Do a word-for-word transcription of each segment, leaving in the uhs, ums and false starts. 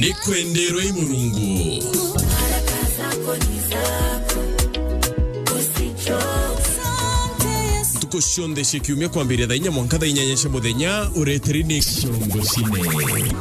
Ni kwenderwe i Murungu. Ntuku cionthe cia kiumia kwambiria thaa inya mwanka thaa inyanya cia muthenya, ureteri ni Kiongo Cine.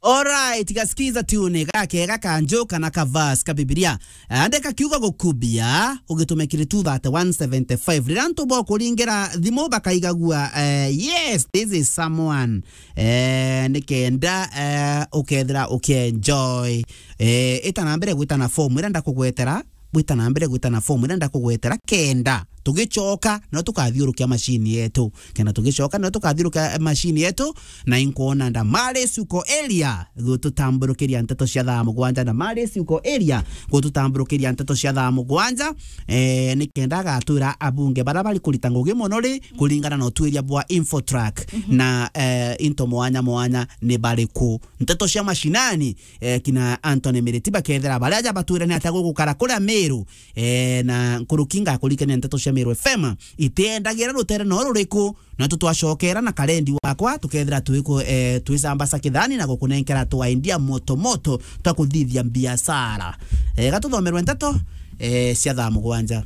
Alright, gasikiza tune gakega ka njuka na ka verse ka Bibilia. Andika kiugo gukubia, ugitume kiri two thirty-one seventy-five. Riria antu bokuringira thimu bakaigagua, eh, yes, this is someone. Eh, ni kenda, eh, ukethira ukienjoy. Eh, ita na mbere gwita na form iria ndakugwetera, gwita na mbere gwita na form iria ndakugwetera kenda. Tugicoka, no tukathiurukia machine yetu. Kenda tugicoka, no tukathiurukia machine yetu, na inkwona ndamari cuko area gututamburukiria nteto cia thaa mugwanja, ndamari cuko area gututamburukiria nteto cia thaa mugwanja. Eh, ni kenda agatwira abunge bara bari kurita ngugi mono ri, kuringana na utwiria bwa Infotrack na, eh, into mwanya mwanya ni bariku. Nteto cia mashinani, eh, kina Anthony Miriti bakethira baria aja batwire ni atia gugukara kuria Meru, eh, na nkuruki ngakurikania nteto cia Meru F M itiendagira rutere no ruriku, na tu twacokera na karendi wakwa, tukethira twiku-, eh, twisambasa kithani na gukunenkera twaindia moto moto twa kuthithia biashara. Eh, gatuthomerwe nteto, eh, cia thaa mugwanja.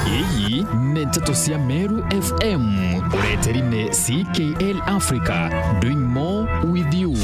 Ii ni nteto cia Meru F M, ureteri ni C K L Africa, doing more with you.